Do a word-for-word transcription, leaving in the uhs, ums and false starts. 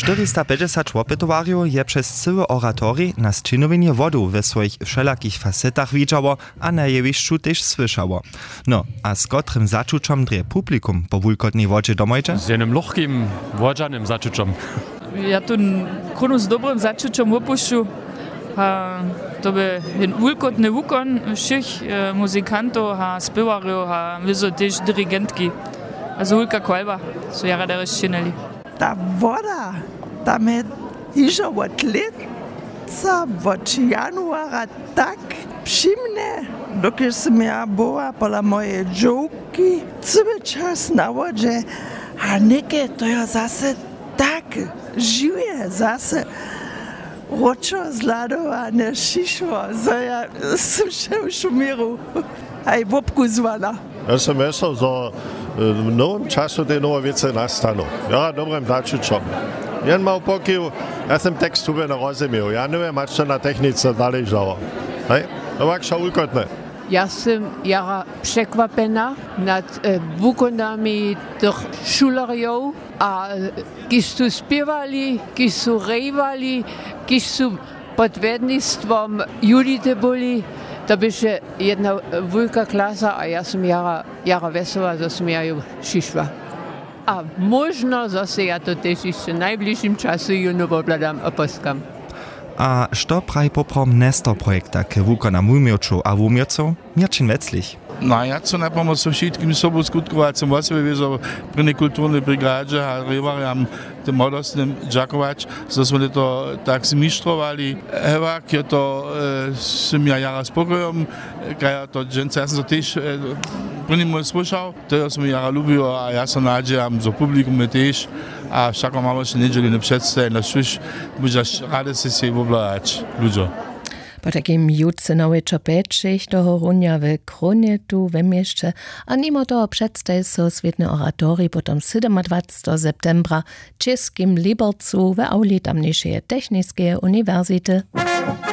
Štyristapjećdźesat wopytowarjow je přez cyły oratorij na sćěnowjenje wodu we swojich wšelakich fasetach widźało a na jewišću tež słyšało. No, a z kotrym začućom drje publikum po wulkotnej wodźe domojće? Z jenym lochkim wodźanym začućom. Ja tu krónu z dobrym začućom wopušću. A to by jen wulkotny wukon wšěch muzikantow a spěwarjow a wězo tež dirigentki. A zo wulka chwalba, so jara derje sćěnili. Ta woda, tam je hižo wot lětsa wot januara tak přimnje, dokelž sym ja była pola mojeje dźowki cyły čas na wodźe. A něke to jo zase tak žiwje zase wróćo zhladowane šišło, zo ja sym wšew šuměru haj wobkuzłana. Ja sam wjesel zo w nowym času te nowe wěcy nastanu. Ja dobrym začućom. Jen mał pokiw. Ja sam tekst hubjeno rozumil, ja nowje mačce na technice zaležało. Hej, to wak wšo wulkotne. Ja sym jara překwapjena nad wukonami tych šulerjow, a kiž su spěwali, kiž su rejwali, kiž su pod wjednistwom judite byli, to běše jedna wulka klasa a ja sym jara jara wjesoła zo sym ja ju přišła. A móžno zo sej ja to tež hišće w najbližšim času jónu wobhladam a poskam. A što praji poprawom nestor projekta k wukonam wuměłčow a wuměłcow? Měrćin weclich. No a ja chcu na pomoc wšitkim sobuskutkowac wosebje wězo prěnjej kulturnej brigadźe a rěwarjam, tym młodostnym dźakować, zo smy to tak zmištrowali. Hewak je to sym ja jara spokojom, kaž ja to dźensa ja sym to tež prěni mój słyšał. To jo smy jara lubiło a ja so nadźejam zo publikum je tež. A wšako mamy wšě njedźeliny předstaje na šuš, móžaš rady se sej wobhladać ludźo. Potajkim jutře na wječor pjećich tohorunja w krónjetu we měsće. A nimo toho předstaji so swětny oratorij potom sydomadwacteho septembra w českim libercu w awli tamnjejšeje techniskeje uniwersity.